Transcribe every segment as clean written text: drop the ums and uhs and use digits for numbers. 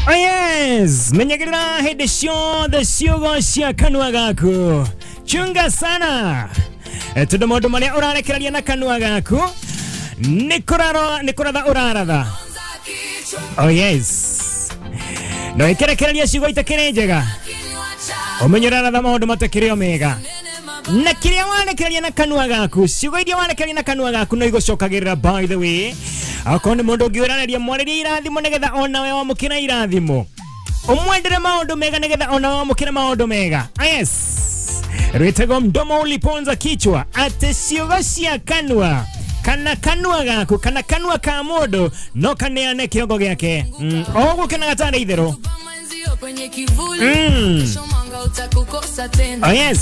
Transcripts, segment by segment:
Oh yes, menyagĩrĩra hĩndĩ ciothe ciugo cia kanua gaku. Chunga sana. Tondũ maũndũ marĩa ũrarekereria na kanua gaku nĩ kũratha ũraratha. Oh yes. No ĩkĩrekereria ciugo itakĩrĩ njega. Ũmenye ũraratha maũndũ matakĩrĩ o mega. Na kĩrĩa warekereria na kanua gaku, ciugo iria warekereria na kanua gaku no igũcokagĩrĩra, by the way. Akorwo nĩ mũndũ ũngĩ ũrareria, mwarĩrie irathimo nĩgetha onawe wamũkĩra irathimo. Ũmwendere maũndũ mega nĩgetha onawe wamũkĩre maũndũ mega. Yes. Rwĩtagwo mdomo uliponza kichwa. Atĩ ciugo cia kanua kana kanua gaku kana kanua ka mũndũ no kaneane kĩongo gĩake. Oguo kenaga tarĩ itherũ. Oh yes.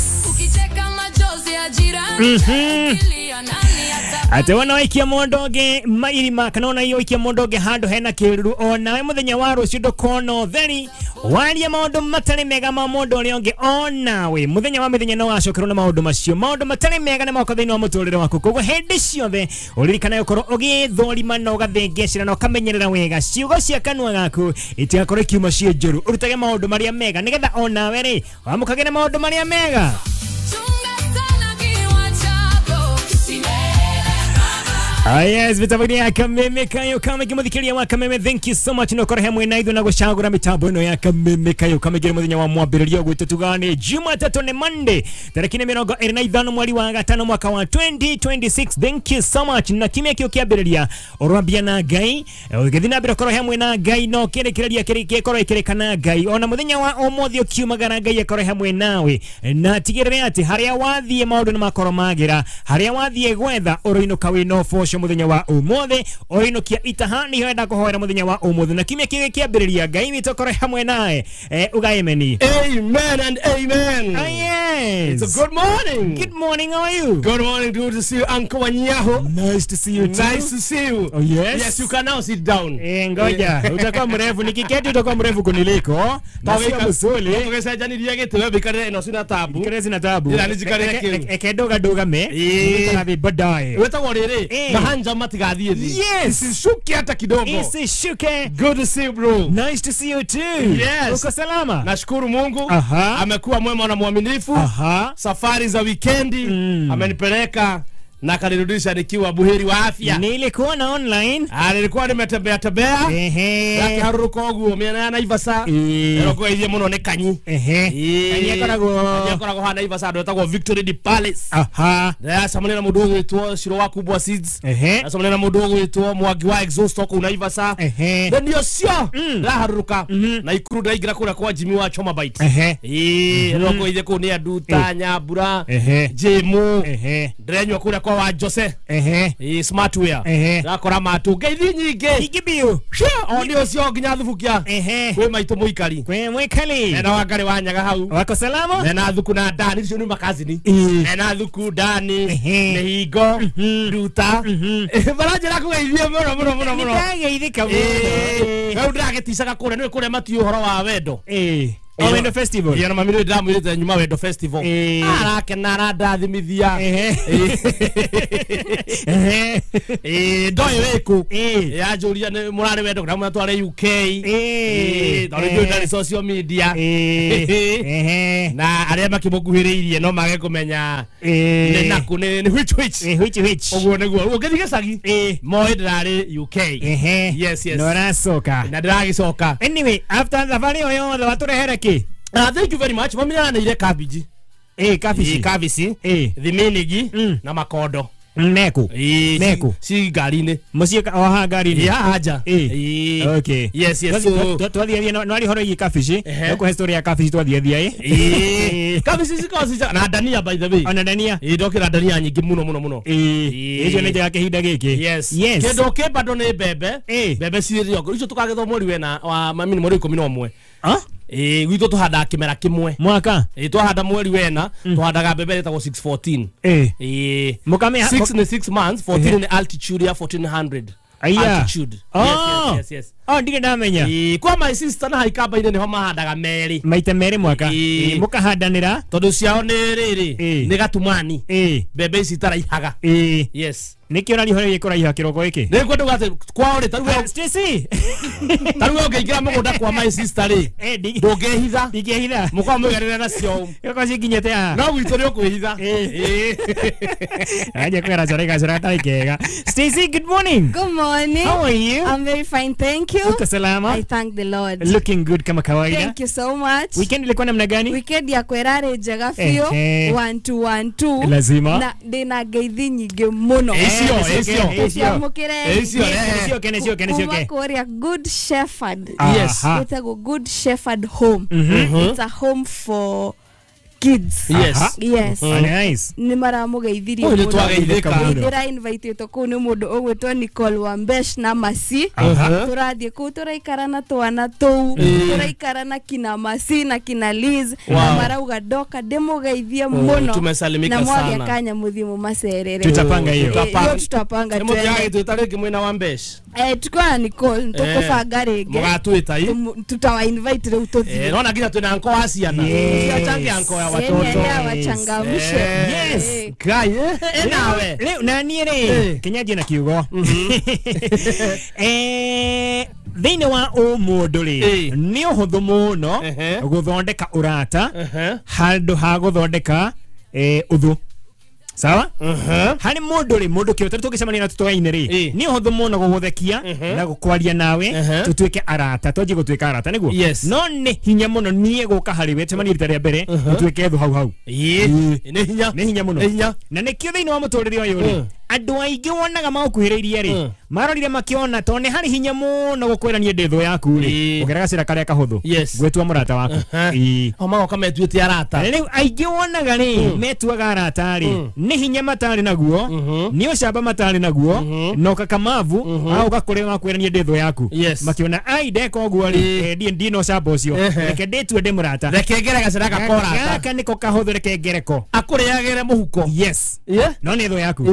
Ate wana waikia mũndũ ũngĩ mairima kana ona waikia mũndũ ũngĩ handũ hena kĩruru, onawe mũthenya wa rũciũ ndũkona ũtheri. Waria maũndũ matarĩ mega ma mũndũ ũrĩa ũngĩ, onawe mũthenya wa mĩthenya no wacokerwo na maũndũ macio. Maũndũ matarĩ mega nĩ moka thĩinĩ wa mũtũrĩre waku. Koguo hĩndĩ ciothe ũririkane gũkorwo ũgĩthũrima na ũgathengecera na ũkamenyerera wega ciugo cia kanua gaku itigakorwo ikiuma ciĩ njũru. Ũrutage maũndũ marĩa mega nĩgetha onawe rĩ wamũkagĩre maũndũ marĩa mega. Ah yes, mitambo ya Kameme Kayo Kame kimuthikiria wa Kameme. Thank you so much no kora hamwe na ithu na gucagura mitambo ino ya Kameme Kayo Kame ngire muthenya wa mwambiririo gwitu tugane Jumatatu ni Monday tariki 25 mweri wa gatano mwaka wa 2026. Thank you so much. Na kimya kio kiambiriria urambia na Ngai ugithi na mbere korwo hamwe na Ngai no kirekereria kirikorwo ikirekana Ngai ona muthenya wa umuthi ukiumagara Ngai akorwo hamwe nawe na tigirire ati haria wathie maundu ni makorwo magira haria wathie gwetha uroinuka wina uboco muthenya wa umuthi uinukia itaha niho enda kuhoera muthenya wa umuthi na kimya kio kiambiriria Ngai witũ akorwo hamwe nawe. Uga amen. Amen and amen. Oh, yes. It's a good morning. Good morning, how are you? Good morning, good to see you, Uncle Wanyaho. Nice to see you too. Nice to see you. Oh yes. Yes, you can now sit down. Ngoja, utakuwa mrefu nikiketi utakuwa mrefu kuniliko. Na sio msuli. Tugecenjanirie gĩtĩ wĩikarĩre ĩno cina tabu. Ikarĩre cina tabu. Ĩra nĩnjikarĩre kĩu. Eke nduga ndugame. Tũgathiĩ baadaye. Wĩtagwo rĩrĩ, mahanja matigathiĩ thĩ. Yes. Isishuke hata kidogo. Isishuke. Good to see you bro. Nice to see you too. Yes. Uko salama? Nashukuru Mungu. Aha. Amekuwa mwema na mwaminifu. Aha. Safari za wikendi amenipeleka na akanirudisha nikiwa buheri wa afya. Nilikuona online. Nilikuwa nimetembea tembea. Ehe. Yake haruruko uguo miena ya Naivasha. Ero ithie muno ni Kanyi. Ehe. Kanyi akoragwo ha Naivasha andu etagwo Victory the Palace. Aha. Ndacemania na mundu ugwitwo Ciro wa Kubwa Seeds. Ehe. Ndacemania na mundu ugwitwo Mwangi wa Exhaust kuu Naivasha. Ehe. Then ucio ndaharuruka na ikuru ndaingira kuria kwa Jimmy wa Choma Bite. Ehe. Ero ithie kuu ni andu ta Nyambura. Ehe. Jimu. Ehe. Ndirenywa kuria kwa wa Jose. Ehe. Smartware. Ehe. Ndakora matu ngeithi nyingĩ. Nyingĩ biũ. O nĩ ũcio nginya thubukia. Ehe. Kwĩ maitũ mũikari. Kwĩ mũikari. Ena Wangari wa Nyaga hau. Wako salama? Ena thuku na Dani icio nĩ makazini. Ena thuku Dani. Mĩhingo. Nduta. Baranjĩra kũgeithia mũno mũno mũno mũno. Nĩndageithĩka mũno. Rĩu ndĩragĩticaga kũrĩa nĩũĩ kũrĩa matiũĩ ũhoro wa wendo. Oh, Wendo Festival. Yeah, na mami ndĩramwĩrĩte nyuma Wendo Festival. Arakena arandathimithia. Ndoĩ wĩkũ. Yanjũria nĩ mũrarĩ wendo kana mũratware UK. Tondũ njũĩ ndarĩ social media. Na arĩa makĩmũkuhĩrĩirie no mage kũmenya nĩ nakũ nĩ which which. Which which. Ũguo nĩguo. Ũngĩthiĩ gĩcagi moĩ ndĩrarĩ UK. Yes, yes. No ũracoka. Na ndĩragĩcoka. Anyway, after thabarĩ ĩyo yothe watũrehere kĩ? Thank you very much. Mami nĩaranĩire cabbage. Cabbage. Cabbage. Thiminigi na makondo. Neku. Neku. Si ngari-inĩ. Mũciĩ o haha ngari-inĩ. Ya haja. Okay. Yes, yes. So twathiathia no ari horo igi cabbage. No kũhe story ya cabbage twathiathia. Cabbage cikoragwo ci na dania by the way. Ona dania. Ndokĩra dania nyingĩ mũno mũno mũno. Icio nĩ njega kĩhinda gĩkĩ. Yes. Yes. Kĩndũ kĩ bado nĩ mbembe. Mbembe cirĩ icio tũkagethwo mweri wena wa mami nĩ mweri 11. Gwitũ tũhandaga kĩmera kĩmwe. Mwaka? Twahanda mweri wena, tũhandaga mbembe ĩtagwo 614. 6 nĩ 6 months, 14 nĩ altitude ya 1400. Aya. Altitude. Oh. Yes, yes, yes. Oh ndirĩ ndamenya. Kwa my sister na haikamba-inĩ nĩho mahandaga merĩ. Maita merĩ mwaka. Mũkahandanĩra tondũ ciao nĩ rĩrĩ nĩ gatumani. Mbembe ici itaraihaga. Yes. Nĩkĩo ũraria ũhoro wĩgiĩ kũraiha kĩroko gĩkĩ? Nĩ ngwenda atĩ kwao rĩ tarĩu Stacy. Tarĩu ũngĩingĩra mũgũnda kwa my sister rĩ ndũngĩhitha. Ndingĩhitha. Mũkorwo mũiganĩre nacio. Gĩkorwo cikinyĩte haha. No gwitũ nĩ ũkwĩhitha. Aje kwera chora gacora gatarĩ kega. Stacy, good morning. Good morning. How are you? I'm very fine, thank you. Uko salama? I thank the Lord. Looking good kama kawaida. Thank you so much. Weekend ilikuwa namna gani? Weekend yakwa ĩrarĩ njega biũ. 1 2 1 2. Lazima. Na ndĩna ngeithi nyingĩ mũno. Kũrĩa Good Shepherd. Yes. Ĩtagwo Good Shepherd Home. It's a home for kids. Yes. Yes. Nice. Nĩ maramũgeithirie mũno. Ndĩra invite kũu nĩ mũndũ ũgwĩtwo Nicole Wambesh na Masi. Tũrathiĩ kũu tũraikara na twana tũu, tũraikara na kina Masi na kina Liz na marauga ndoka ndĩmũgeithie mũno. Tumesalimika na sana. mwage kanya mũthiĩ mũmacerere. Tutapanga hiyo. Tutapanga. Nĩ mũthiaga gĩtwĩta rĩngĩ mwĩna Wambesh. Tuko na Nicole tũkũbanga rĩngĩ. Mũgatwĩta i. Tutawa invite rĩu tũthiĩ. Nona nginya twĩna anko wa ciana. Ciachange anko ya watoto. Wachangamshe. Yes. Ngai nawe. Rĩu na niĩ rĩ kinyanjie na kiugo. Thĩinĩ wa ũmũndũ rĩ nĩ ũhũthũ mũno gũthondeka ũrata handũ ha gũthondeka ũthũ. Sawa? Harĩ mũndũ rĩ mũndũ kĩo tũngĩcemania na tũtoaine rĩ nĩ ũhũthũ mũno gũgũthekia na gũkwaria nawe tũtuĩke arata twanjie gũtuĩka arata nĩguo. No nĩ hinya mũno niĩ gũka harĩ we tũcemanie rita rĩa mbere tũtuĩke thũ hau hau. Nĩ hinya. Nĩ hinya mũno. Na nĩkĩo thĩinĩ wa mũtũrĩre ũyũ rĩ andũ aingĩ wonaga magũkuhĩrĩirie rĩ marorire makĩona tondũ nĩ harĩ hinya mũno gũkwĩra niĩ ndĩ thũ yaku rĩ ũgera gacĩra karĩa kahũthũ ngwĩtua mũrata waku. O magoka metuĩte arata. Rĩu aingĩ wonaga rĩ metuaga arata rĩ nĩ hinya matarĩ naguo nĩ ũcamba matarĩ naguo na ũkakamavu agoka kũrĩa wakwĩra niĩ ndĩ thũ yaku makĩona ai ndeka ũguo rĩ ndina ũcamba ũcio reke ndĩtue ndĩ mũrata reke ngere gacĩra gakorata gaka nĩko kahũthũ reke ngereko akũrĩagĩre mũhuko. Yes. No nĩ thũ yaku.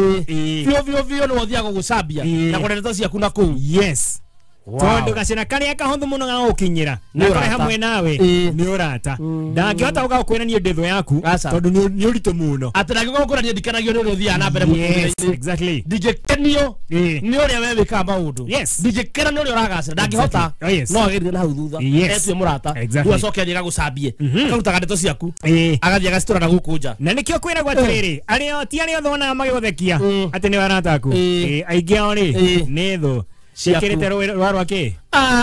Biũ biũ biũ nĩ ũthiaga gũgũcambia na kũrĩa ndeto ciaku na kũu. Yes. Tondũ gacĩra karĩa kahũthũ mũno ga gũkinyĩra na karĩa hamwe nawe nĩ ũrata ndangĩhota gũka gũkwĩra niĩ ndĩ thũ yaku tondũ nĩ ũritũ mũno atĩ ndangĩũka gũkwĩra niĩ ndikenagio nĩ ũrĩa ũthiaga na mbere mũtũrĩre-inĩ. Exactly. Ndingĩkenio nĩ ũrĩa we wĩkaga maũndũ. Ndingĩkena nĩ ũrĩa ũragacĩra ndangĩhota no agerie na hau thutha etue mũrata rĩu acoke athiĩ agagũcambie akarutaga ndeto ciaku agathiĩ agacitwara na gũkũ nja. Na nĩkĩo kwĩragwo atĩrĩrĩ arĩa ti arĩa othe wonaga magĩgũthekia atĩ nĩ arata aku aingĩ ao rĩ nĩ thũ ciĩkĩrĩte rwa rwa kĩ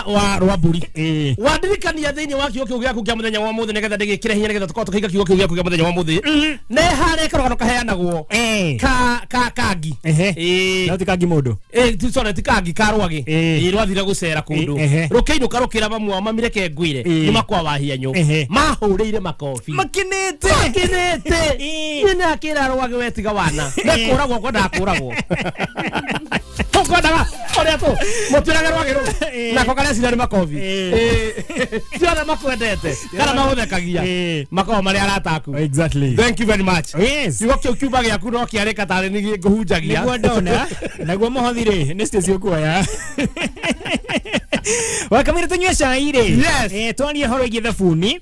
wa rwa mbũri. Wandirikania thĩinĩ wa kiugo kĩu gĩaku kĩa mũthenya wa mũthĩ nĩgetha ndĩgĩkĩre hinya nĩgetha tũkorwo tũkĩiga kiugo kĩu gĩaku kĩa mũthenya wa mũthĩ nĩ harĩ karũgano kaheanagwo ka kangi. No ti kangi mũndũ. Sorry ti kangi ka rwagĩ. Rwathire gũcera kũndũ rũkĩinũka rũkĩra mamu wao mami reke ngwĩre nĩ makwa wa hianyũ mahũrĩire makobi makinĩte makinĩte. Niĩ nĩ akĩra rwagĩ we tiga wana nĩ kũragwo kwendaga kũragwo tũkwendaga ũrĩa tũ mũtuĩraga rwagĩ rũu nako karĩa cira nĩ makobi ti othe makwendete kana magũthekagia makoragwo marĩ arata aku. Exactly. Thank you very much. Yes. Kiugo kĩu kiuma gĩaku no kĩarĩka tarĩ nĩ ngũhunjagia nĩguo ndona naguo mũhothi rĩ nĩ Stacy ũkuoya. Wakamira tunywe cai rĩ. Yes. Twarie ũhoro wĩgiĩ thabuni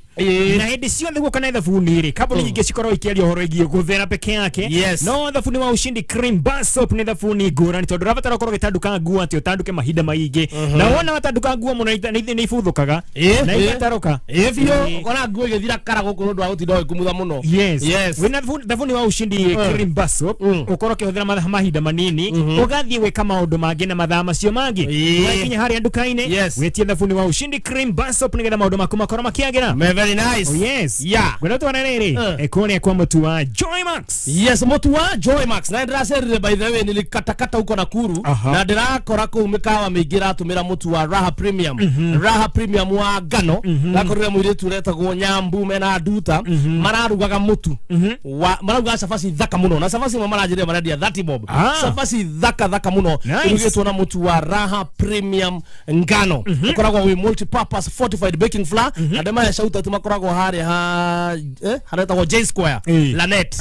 na hĩndĩ ciothe guoka na thabuni rĩ kambuni nyingĩ cikoragwo ikĩaria ũhoro wĩgiĩ gũthera peke yake. No thabuni wa Ushindi Cream Bar Soap nĩ thabuni ngũrani tondũ ũrabatara ũkorwo ũgĩtanduka nguo atĩ ũtanduke mahinda maingĩ na wona watanduka nguo mũno nĩ ibuthũkaga na igatarũka biũ ũkona nguo ĩgĩthira kara gũkũ nĩ ũndũ wa gũtinda ũgĩkumutha mũno. Yes. Wĩna thabuni wa Ushindi Cream Bar Soap ũkorwo ũkĩhũthĩra mahinda manini ũgathiĩ gwĩka maũndũ mangĩ na mathaa macio mangĩ wakinya harĩa nduka-inĩ wĩtie thabuni wa Ushindi Cream Bar Soap nĩgetha maũndũ maku makorwo makĩagĩra. Very nice. Oh, yes. Yeah. Gwenda twana rĩrĩ kũrĩa kwa mũtu wa Joy Max. Yes, mũtu wa Joy Max. Na ndĩracerire by the way nilikatakata huko Nakuru na ndĩrakora kũu mĩkawa mĩingĩ ĩratũmĩra mũtu wa Raha Premium. Raha Premium wa ngano. Ndakorire mũirĩtu ũretagwo Nyambu mena Nduta mararugaga mũtu wa mararugaga cabaci thaka mũno na cabaci imwe maranjĩrĩra marendia 30 bob. Cabaci thaka thaka mũno ĩrugĩtwo na mũtu wa Raha Premium ngano. Ũkoragwo wĩ multi-purpose fortified baking flour na ndĩmahe shout out makoragwo harĩa ha haretagwo J Square Lanet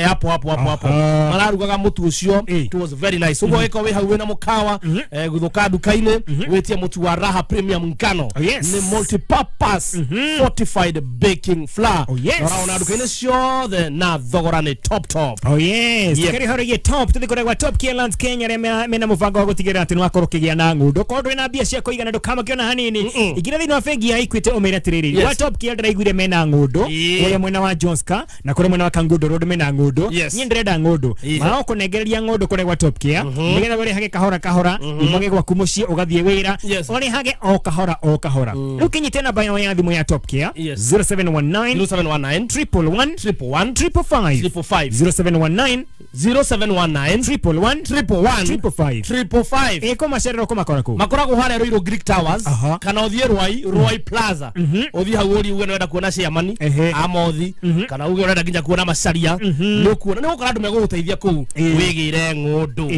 hapo hapo hapo hapo mararugaga mũtu ũcio. It was very nice. Ũguo ĩko wĩ hau wĩna mũkawa gũthũka nduka-inĩ wĩtie mũtu wa Raha Premium ngano. Nĩ multi-purpose fortified baking flour. Ũraona nduka-inĩ ciothe na thogora nĩ top top. Oh yes. Tukĩrĩ horo ĩgiĩ top tũthiĩ kũrĩa gwa Top Care Lands Kenya arĩa mena mũbango wa gũtigĩrĩra atĩ nĩwakorwo ũkĩgĩa na ng'ũndũ. Korwo ndũrĩ na mbia cia kũigana ndũkamakio na hanini. Ingĩra thĩinĩ wa bengi ya Equity ũmĩre atĩrĩrĩ, gwa Top Care ndĩraiguire mena ng'ũndũ kũrĩa mwena wa Johnska na kũrĩa mwena wa Kangundo Road mena ng'ũndũ. Niĩ ndĩrenda ng'ũndũ. Marakũnengereria ng'ũndũ kũrĩa gwa Top Care nĩgetha ũrĩhage kahora kahora umage gwaku mũciĩ ũgathiĩ wĩra ũrĩhage o kahora o kahora. Rĩu kĩnyite namba yao ya thimũ ya Top Care 0719 0719 111 111 555 555 0719 0719 111 111 555 555. Eko macerero ko makora kuu makoragwo harĩa Ruiru Greek Towers kana ũthiĩ Ruai Ruai Plaza ũthiĩ hau ũrie uge nĩwenda kuona chairman Amothi kana uge ũrenda nginya kuona Macharia nĩũkuona nĩũgũkora andũ megũgũteithia kũu wĩgĩre ng'ũndũ.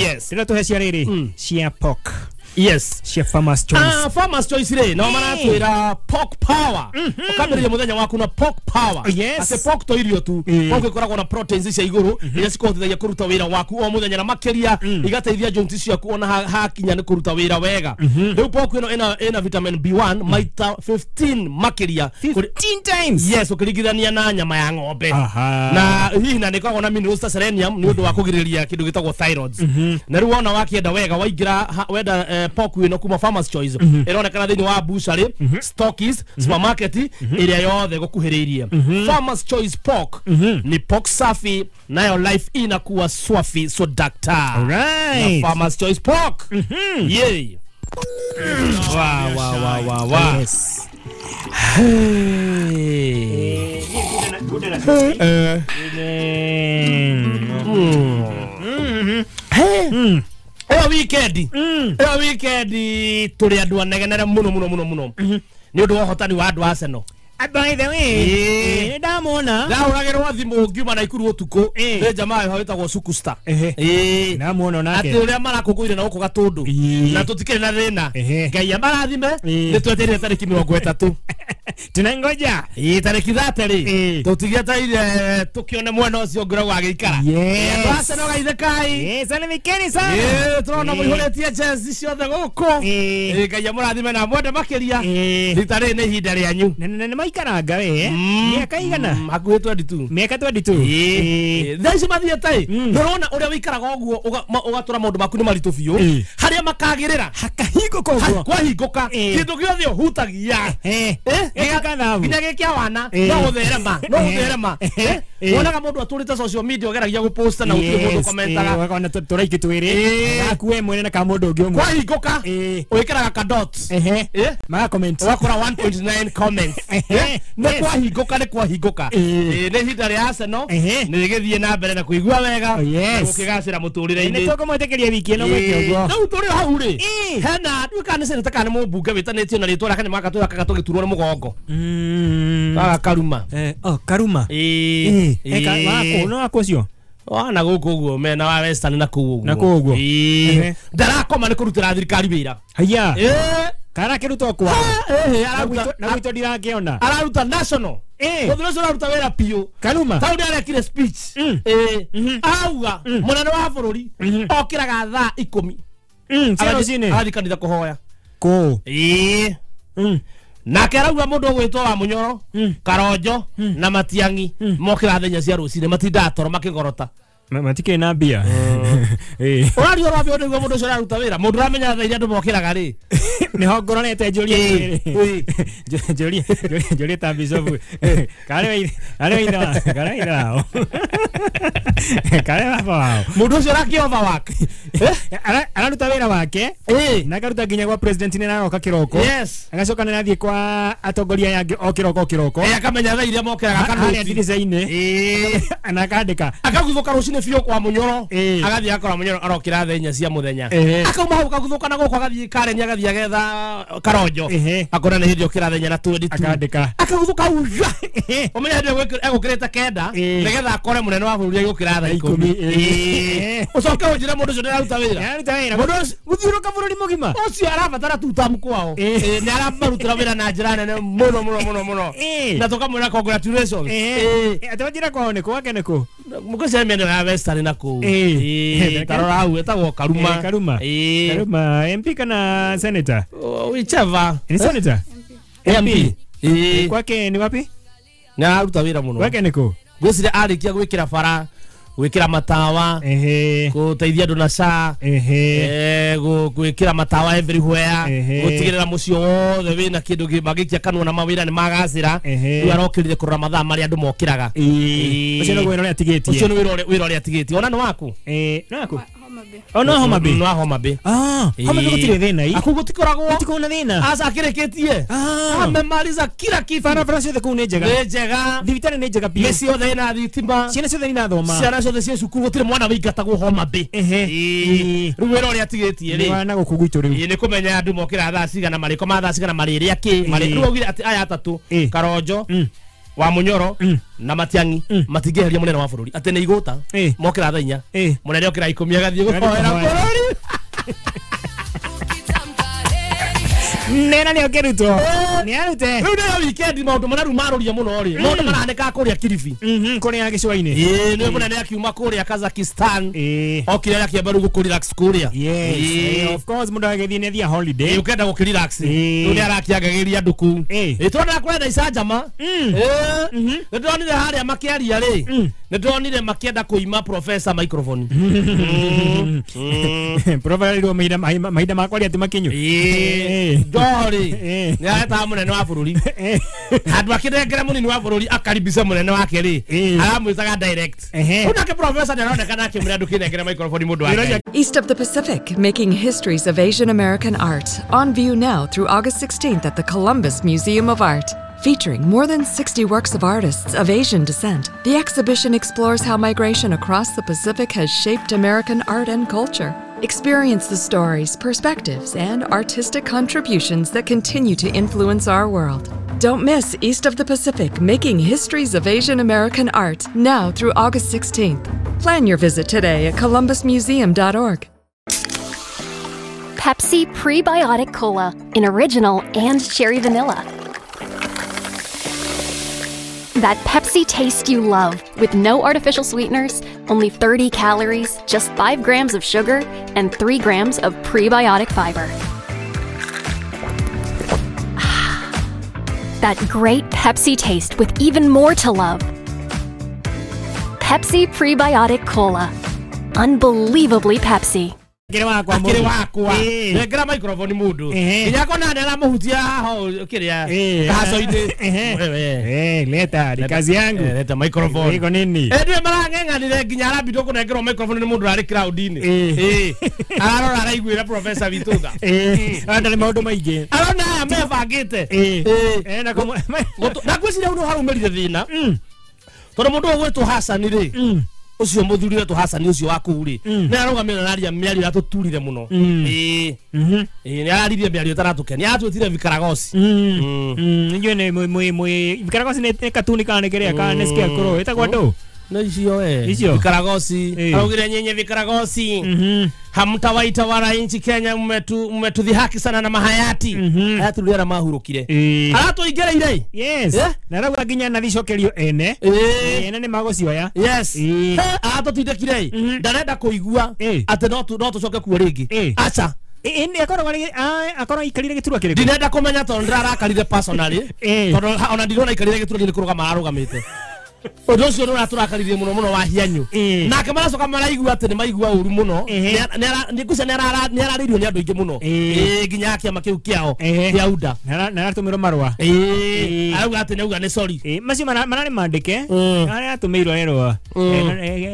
Yes. Rĩrĩa tũhe cia rĩrĩ cia pork. Yes. Cia Farmers Choice. Farmers Choice rĩ no maratwĩra pork power. Ũkambĩrĩria mũthenya waku na pork power. Atĩ pork to irio tu. Pork ĩkoragwo na proteins cia igũrũ iria cikũhotithagia kũruta wĩra waku o mũthenya na makĩria igateithia joints ciaku ona hakinya nĩ kũruta wĩra wega. Rĩu pork ĩno ĩna vitamin B1 maita 15 makĩria. 15 times. Yes, ũkĩringithania na nyama ya ng'ombe. Na hihi na nĩkoragwo na minerals ta selenium nĩ ũndũ wa kũgirĩrĩria kĩndũ gĩtagwo thyroids. Na rĩu wona wakĩenda wega waingĩra wenda pork ĩno kuma Farmers Choice ĩronekana thĩinĩ wa butchery, stockies, supermarket ĩrĩa yothe gũkuhĩrĩirie. Farmers Choice pork ni pork safi nayo life inakuwa swafi so doctor. Alright. Na Farmers Choice pork. Yeah. Wa wa wa wa wa. Yes. Hey. Eyo weekend. Eyo weekend turi andu anegenere muno muno muno muno. Ni undu wa hotani wa andu Arsenal. By the way, ndamona ndahũragĩrwo thimũ ngiuma Naikuru ũtukũ nĩ jamaa ĩho wĩtagwo Sukusta. Ndamuona nake atĩ ũrĩa marakũngũire na gũkũ Gatũndũ na tũtikĩrĩ na thĩna. Ngai amarathime nĩ twetereire tarĩki 30. Tunangoja tarĩki 30 rĩ tũtigĩetereire tũkĩone mwena ũcio ũngĩ agĩikara. Andũ Arsenal gaithĩkai. Salimikeni sana. Tũrona mũihũrĩtie jezi ciothe gũkũ. Ngai amũrathime na mwende makĩria. Rita rĩrĩ nĩ ihinda rĩanyu. Nĩ maikaranga we mĩaka igana hakuhĩ 22 mĩaka 22. Thaa ici mathiĩte ndũrona ũrĩa wĩikaraga ũguo ũgatũra maũndũ maku nĩ maritũ biũ harĩa makagĩrĩra hakahingũka ũguo kwahingũka kĩndũ gĩothe ũhutagia nginya gĩkĩa wana no gũtherema no gũtherema. Wonaga mũndũ atũrĩte social media ũgeragia gũposta na gũtirĩ mũndũ komentaga ũkona tũraiki twĩrĩ gaku we mwene na ka mũndũ ũngĩ ũmwe kwahingũka wĩkĩraga ka dot maga comment ũgakora 1.9 comments. Nĩ kwahingũka nĩ kwahingũka. Nĩ ihinda rĩa Arsenal nĩ rĩgĩthiĩ na mbere na kũigua wega na gũkĩgacĩra mũtũrĩre-inĩ. Nĩ tũkũmwĩtĩkĩria wiki ĩno gwĩke ũguo. Rĩu tũrĩ hau rĩ hena ndiũĩ kana nĩ seneta kana nĩ mũmbunge wĩtanĩtio na rĩtwa rĩake nĩ magatũrakaga tũgĩturwo nĩ mũgongo. Kaga Karuma. Oh Karuma. Wako no wako ũcio wana gũkũ ũguo mena wa Western na kũu ũguo na kũu ũguo. Ndarakoma nĩ kũrutĩra thirikari wĩra. Haiya. Karakĩrutwo kwa na gwitũ ndirakĩona araruta national mũthuri ũcio araruta wĩra biũ. Karuma tau nĩarekire speech auga mũnene wa bũrũri okĩraga thaa 10 cia rũcinĩ agathiĩ kanitha kũhoya kũũ. Nake arauga mũndũ ũgwĩtwo wa Mũnyoro Karonjo na Matiang'i mokĩra thenya cia rũcinĩ matindaga toro makĩgorota matikĩrĩ na mbia. Ũraria ũrambia ũndũ mũndũ ũcio araruta wĩra mũndũ ũramenya thaa iria andũ mokĩraga rĩ nĩho ngororete njũrie njũrie njũrie ta bishop karĩ ithe wao karĩ baba wao mũndũ ũcio ũrakĩ overwork araruta wĩra wake na akaruta nginya gwa president nĩ aroka kĩroko. Agacoka nĩ arathiĩ kwa atongoria aya angĩ o kĩroko o kĩroko akamenya thaa iria mokĩraga harĩa ndirica-inĩ na akandĩka akaguthũka rũcinĩ Hwainĩ biũ kwa Munyoro agathiĩ akora Munyoro arokĩra thaa 4 cia mũthenya akauma hau kaguthũka na gũkũ agathiĩ Karen agathiĩ agetha Karonjo akona nĩ hĩndĩ okĩra thaa 4 na 22 akandĩka akaguthuka hau ũmenye hĩndĩ egũkĩrĩte 9 nĩgetha akore mũnene wa bũrũri agĩũkĩra thaa 10. Ũcoke ũnjĩre mũndũ ũcio ndĩraruta wĩra. Nĩararuta wĩra gũthiũrũka bũrũri mũgima ũcio arabatara tutamu kwao. Nĩ aramarutĩra wĩra na njĩra nene mũno mũno mũno mũno na tũkamwĩra congratulations. Atĩ wanjĩra kwao nĩ kũ wake nĩ kũ mũkũcia mĩena ya Western na kũu tarora hau ĩtagwo Karuma. Karuma. Karuma MP kana senator? Whichever. Ni senator? MP. Kwake ni wapi? Nĩ araruta wĩra mũno. Kwake nĩ kũ? Ngwĩciria arĩkia gwĩkĩra bara gwĩkĩra matawa gũteithia andũ na SHA gwĩkĩra matawa everywhere gũtigĩrĩra mũciĩ wothe wĩna kĩndũ mangĩikia kanua na mawĩra nĩ magacĩra. Rĩu arokĩrire kũrora mathaa marĩa andũ mokĩraga. Ũcio nĩguo wĩra ũrĩa atigĩtie. Ũcio nĩ wĩra ũrĩa atigĩtie. Ona nĩ waku? Nĩ waku? Ona Homa Bay. No Homa Bay. Homa Bay gũtirĩ thĩna. Akũ gũtikoragwo. Gũtikoragwo na thĩna. Aca akĩrĩkĩtie. Amemaliza kila kitu. Barabara ciothe kũu nĩ njega. Nĩ njega. Thibitarĩ nĩ njega biũ. Mĩciĩ yothe ĩna thitima. Ciana ciothe irathoma. Ciana ciothe ciĩ cukuru gũtirĩ mwana wĩingatagwo Homa Bay. Rĩu wĩra ũrĩa atigĩtie rĩ. Nĩ wa gũkũ gwitũ rĩu. Nĩ kũmenya andũ mokĩra thaa cigana marĩkoma thaa cigana marĩrĩa kĩ. Rĩu augire atĩ aya atatũ Karonjo wa Munyoro na Matiang'i matingĩeheria mũnene wa bũrũri atĩ nĩ igũta mokĩra thaa 4 mũnene okĩra 10 agathiĩ gũhoera bũrũri. Nena nĩ ũkĩrutwo nĩ arute rĩu nĩyo weekend maũndũ marĩa rĩu marũria mũno rĩ maũndũ marahanĩka kũrĩa Kilifi kũrĩa gĩcũa-inĩ. Nĩwe mũnene akiuma kũrĩa Kazakhstan okire akĩamba rĩu gũkũ-relax kũrĩa. Yes, of course mũndũ agĩthiĩ nĩ athiĩ holiday ũkenda gũkĩrelax rĩu nĩ arakĩangagĩria andũ kũu. Tũrona kũrenda icanjama. Nĩ ndonire harĩa makĩaria rĩ nĩ ndonire makĩenda kũima professor microphone. Professor rĩu mahinda makwaria ti makinyu. Njori nĩ aretaga mũnene wa bũrũri handũ akĩnengera mũnini wa bũrũri akaribisha mũnene wake rĩ aramwĩtaga direct. Rĩu nake professor nĩ aronekana akĩmwĩra ndũkĩnengere microphone mũndũ wa. East of the Pacific, making histories of Asian American art on view now through August 16th at the Columbus Museum of Art. Featuring more than 60 works of artists of Asian descent, the exhibition explores how migration across the Pacific has shaped American art and culture. Experience the stories, perspectives, and artistic contributions that continue to influence our world. Don't miss East of the Pacific, making histories of Asian American art, now through August 16th. Plan your visit today at columbusmuseum.org. Pepsi Prebiotic Cola in original and cherry vanilla. That Pepsi taste you love, with no artificial sweeteners, only 30 calories, just 5 grams of sugar, and 3 grams of prebiotic fiber. That great Pepsi taste with even more to love. Pepsi Prebiotic Cola. Unbelievably Pepsi. Akĩrĩ wakwa nengera microphone mũndũ nginya kona nĩ aramuhutia haha kĩrĩa kahaco-inĩ. Leta ni kazi yangu leta microphone iko nini ndio marang'eng'anire nginya arambindwo kũnengerwo microphone nĩ mũndũ arĩ crowd-inĩ. Ararora araiguĩra professor witũ tha ndarĩ maũndũ maingĩ arona aya mebangĩte na ngwĩciria hau nĩho haraumĩrire thĩna tondũ mũndũ ũgwĩtwo Hassan rĩ ucio muthuri wetu Hassan ucio wa kuu ri ni arugamire na aria miario yatuturire muno. Ni araririe miario itaratukenia atwitire vikaragosi. Inyuĩ nĩ mwi vikaragosi nĩ katuni kana nĩ kĩrĩa kana nĩ scarecrow ĩtagwo ndũ? No icio Icio? Vikaragosi araugire nyenye vikaragosi hamtawaita wananchi Kenya mmetudhihaki sana na mahayati. Hayati rĩrĩa mahurukire aratuingĩrĩire. Yes. Na rauga nginya na thicokerio ene ene nĩ magũcioya. Yes. Aratũtindĩkire ndarenda kũigua atĩ no tũcoke kuo rĩngĩ. Aca akorwo aikarire gĩturwa kĩrĩkũ? Ndinenda kũmenya tondũ ndĩrarakarire personally tondũ ona ndirona aikarire gĩturwa nĩ kũrũgama ararũgamĩte. Ũndũ ũcio nĩ ũratũrakaririe mũno mũno wa hianyu nake maracoka maraigua atĩ nĩ maigua ũru mũno ngwĩciria nĩ ararĩirio nĩ andũ aingĩ mũno nginya kĩama kĩu kĩao kĩa UDA na aratũmĩrwo marũa arauga atĩ nĩ auga nĩ sorry macio mararĩ mandĩke arĩa atũmĩirwo erwo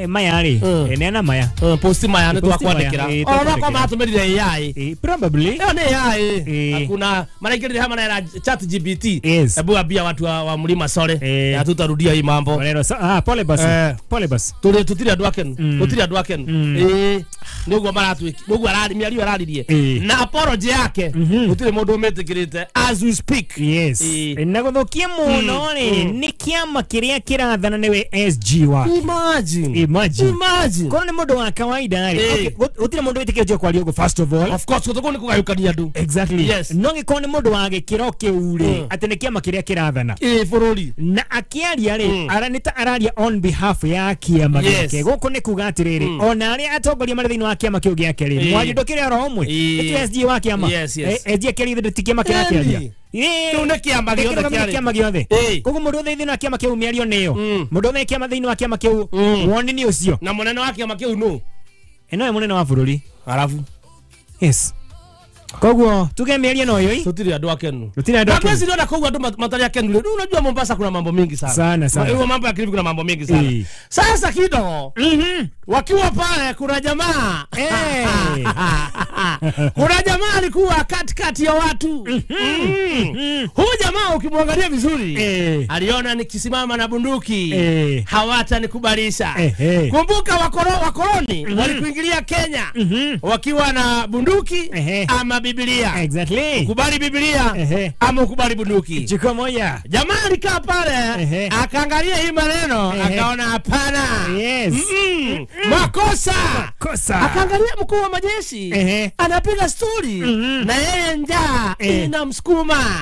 maya rĩ neana maya post maya nĩ twakwandĩkĩra ona kwa matũmĩrire AI probably ĩyo nĩ AI hakuna maraingĩrire hamwe na ChatGPT hebu ambia watu wa mlima sore na tutarudia hii mambo. Mĩgambo. Maneno pole basi. Pole basi. Tũrĩ tũtirĩ andũ akenu, tũtirĩ andũ akenu. Ĩĩ, nĩguo maratwĩki, nĩguo arari mĩario araririe na apology yake gũtirĩ mũndũ ũmĩtĩkĩrĩte as we speak. Yes. Na gũthũkia mũno rĩ, nĩ kĩama kĩrĩa kĩrathana nĩwe SG wa. Imagine. Imagine. Imagine. Korwo nĩ mũndũ wa kawaida rĩ, okay, gũtirĩ mũndũ wĩtĩkĩrĩtio kwaria ũguo first of all. Of course, gũtũkũ nĩ kũgayũkania andũ. Exactly. Yes. No gĩkorwo nĩ mũndũ wa gĩkĩro kĩu rĩ, atĩ nĩ kĩama kĩrĩa kĩrathana. Ĩĩ, bũrũri. Na akĩaria rĩ, nĩ ta araria on behalf ya kĩama gĩake. Gũkũ nĩ kuga atĩrĩrĩ, ona arĩa atongoria marĩ thĩinĩ wa kĩama kĩu gĩake rĩ, mwario ndũkĩrĩ oro ũmwe. Nĩ SG wa kĩama. Yes, yes. SG akĩaria ti kĩama kĩrakĩaria. Kĩu nĩ kĩama gĩothe kĩarĩ. Kĩama gĩothe. Koguo mũndũ wothe thĩinĩ wa kĩama kĩu mĩario nĩyo. Mũndũ wothe kĩama thĩinĩ wa kĩama kĩu woni nĩ ũcio. Na mũnene wa kĩama kĩu nũ? Ĩno nĩ mũnene wa bũrũri. Arabu. Yes. Koguo tuge mĩario no ĩyo. Tutiri andũ akenu. Tutiri andũ akenu. Na kwezi koguo andũ matarĩ akenu. Rĩu unajua Mombasa kuna mambo mingi sana. Sana sana. Hiyo mambo ya Kilifi kuna mambo mingi sana. Sasa kidogo. Wakiwa pale kuna jamaa. Kuna jamaa alikuwa katikati ya watu. Huyu jamaa ukimwangalia vizuri, aliona nikisimama na bunduki hawatanikubalisha. Kumbuka wakoloni walikuingilia Kenya wakiwa na bunduki ama Biblia. Exactly. Ukubali Biblia ama ukubali bunduki. Chukua moja. Jamaa alikaa pale akaangalia hii maneno akaona hapana. Yes. Makosa. Makosa. Akaangalia mkuu wa majeshi anapiga story na yeye njaa inamsukuma.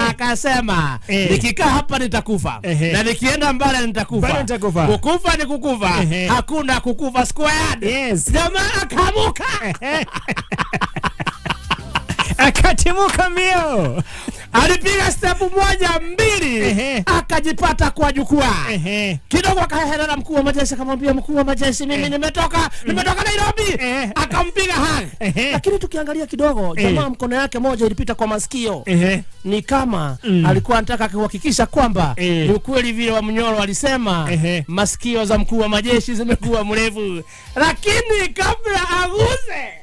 Akasema nikikaa hapa nitakufa na nikienda mbali nitakufa. Kukufa ni kukufa. Hakuna kukufa squared. Yes. Jamaa akamuka. Akatimuka mbio. Alipiga step 1 2 akajipata kwa jukwaa. Kidogo akaherera mkuu wa majeshi akamwambia mkuu wa majeshi mimi nimetoka Nairobi. Akampiga hug. Lakini tukiangalia kidogo jamaa mkono yake moja ilipita kwa masikio. Ni kama alikuwa anataka kuhakikisha kwamba ni ukweli vile wa Mnyoro alisema masikio za mkuu wa majeshi zimekuwa mrefu. Lakini kabla aguse